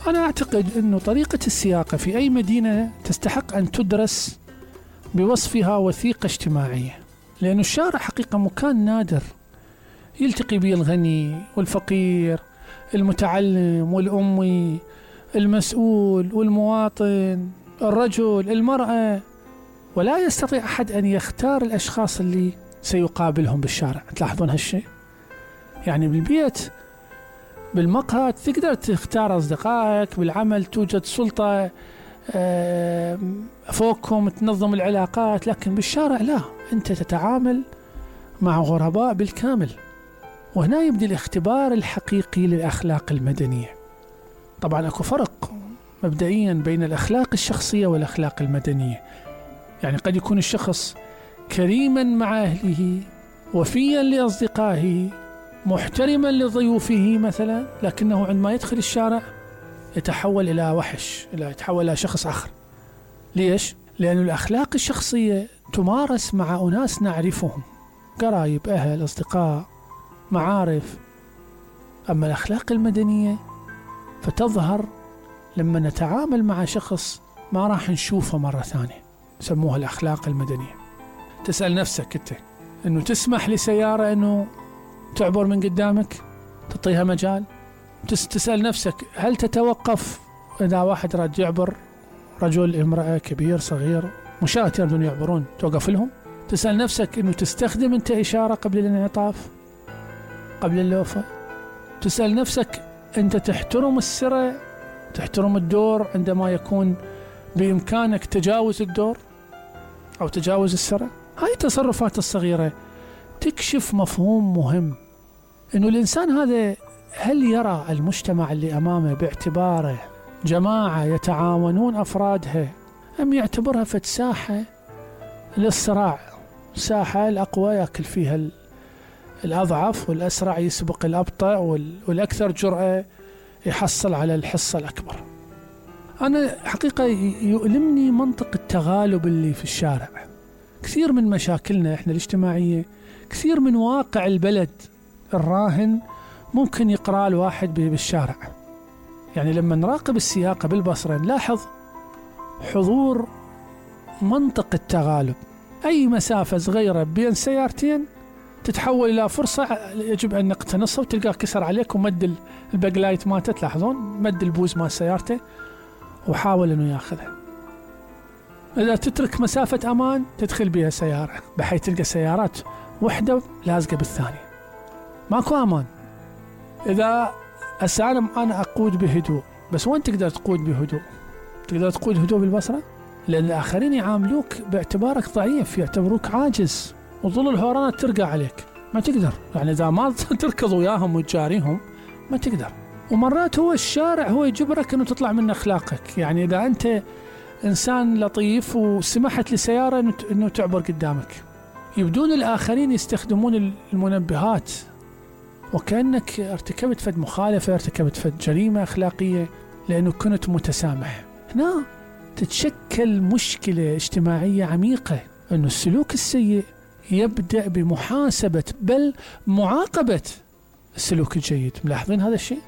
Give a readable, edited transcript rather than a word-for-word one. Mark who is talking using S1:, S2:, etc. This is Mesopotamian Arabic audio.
S1: أنا أعتقد أن طريقة السياقة في أي مدينة تستحق أن تدرس بوصفها وثيقة اجتماعية، لأن الشارع حقيقة مكان نادر يلتقي به الغني والفقير، المتعلم والأمي، المسؤول والمواطن، الرجل، المرأة، ولا يستطيع أحد أن يختار الأشخاص اللي سيقابلهم بالشارع. تلاحظون هالشيء؟ يعني بالبيت بالمقهى تقدر تختار أصدقائك، بالعمل توجد سلطة فوقهم تنظم العلاقات، لكن بالشارع لا، أنت تتعامل مع غرباء بالكامل. وهنا يبدأ الاختبار الحقيقي للأخلاق المدنية. طبعا أكو فرق مبدئيا بين الأخلاق الشخصية والأخلاق المدنية. يعني قد يكون الشخص كريما مع أهله، وفيا لأصدقائه، محترما لضيوفه مثلا، لكنه عندما يدخل الشارع يتحول إلى وحش، يتحول إلى شخص آخر. ليش؟ لأن الأخلاق الشخصية تمارس مع أناس نعرفهم، قرايب، أهل، أصدقاء، معارف. أما الأخلاق المدنية فتظهر لما نتعامل مع شخص ما راح نشوفه مرة ثانية، سموها الأخلاق المدنية. تسأل نفسك أنت أنه تسمح لسيارة أنه تعبر من قدامك، تعطيها مجال؟ تسأل نفسك هل تتوقف إذا واحد راد يعبر، رجل، امرأة، كبير، صغير، مشاة يريدون يعبرون، توقف لهم؟ تسأل نفسك أنه تستخدم أنت إشارة قبل الانعطاف، قبل اللوفة؟ تسأل نفسك أنت تحترم السرة، تحترم الدور عندما يكون بإمكانك تجاوز الدور أو تجاوز السرة؟ هاي التصرفات الصغيرة تكشف مفهوم مهم، أنه الإنسان هذا هل يرى المجتمع اللي أمامه باعتباره جماعة يتعاونون أفرادها، أم يعتبرها ساحة للصراع، ساحة الأقوى يأكل فيها الأضعف، والأسرع يسبق الأبطأ، والأكثر جرأة يحصل على الحصة الأكبر. أنا حقيقة يؤلمني منطق التغالب اللي في الشارع. كثير من مشاكلنا إحنا الاجتماعية، كثير من واقع البلد الراهن ممكن يقرأ الواحد بالشارع. يعني لما نراقب السياقة بالبصرة نلاحظ حضور منطق التغالب. أي مسافة صغيرة بين سيارتين تتحول إلى فرصة يجب أن نقتنصها، وتلقاه كسر عليك ومد الباكلايت مالته، تلاحظون مد البوز مال سيارته وحاول أنه يأخذها. إذا تترك مسافة أمان تدخل بها سيارة، بحيث تلقى سيارات واحدة لازقة بالثانية، ماكو أمان. إذا أنا أقود بهدوء، بس وين تقدر تقود بهدوء؟ تقدر تقود هدوء بالبصرة؟ لأن الآخرين يعاملوك باعتبارك ضعيف، يعتبروك عاجز، وظل الهورانات ترقى عليك، ما تقدر. يعني إذا ما تركض وياهم وتجاريهم ما تقدر. ومرات هو الشارع هو يجبرك أنه تطلع من أخلاقك. يعني إذا أنت إنسان لطيف وسمحت لسيارة أنه تعبر قدامك، يبدون الآخرين يستخدمون المنبهات وكأنك ارتكبت فد مخالفة، ارتكبت فد جريمة أخلاقية لأنه كنت متسامح. هنا تتشكل مشكلة اجتماعية عميقة، أنه السلوك السيء يبدأ بمحاسبة بل معاقبة السلوك الجيد. ملاحظين هذا الشيء؟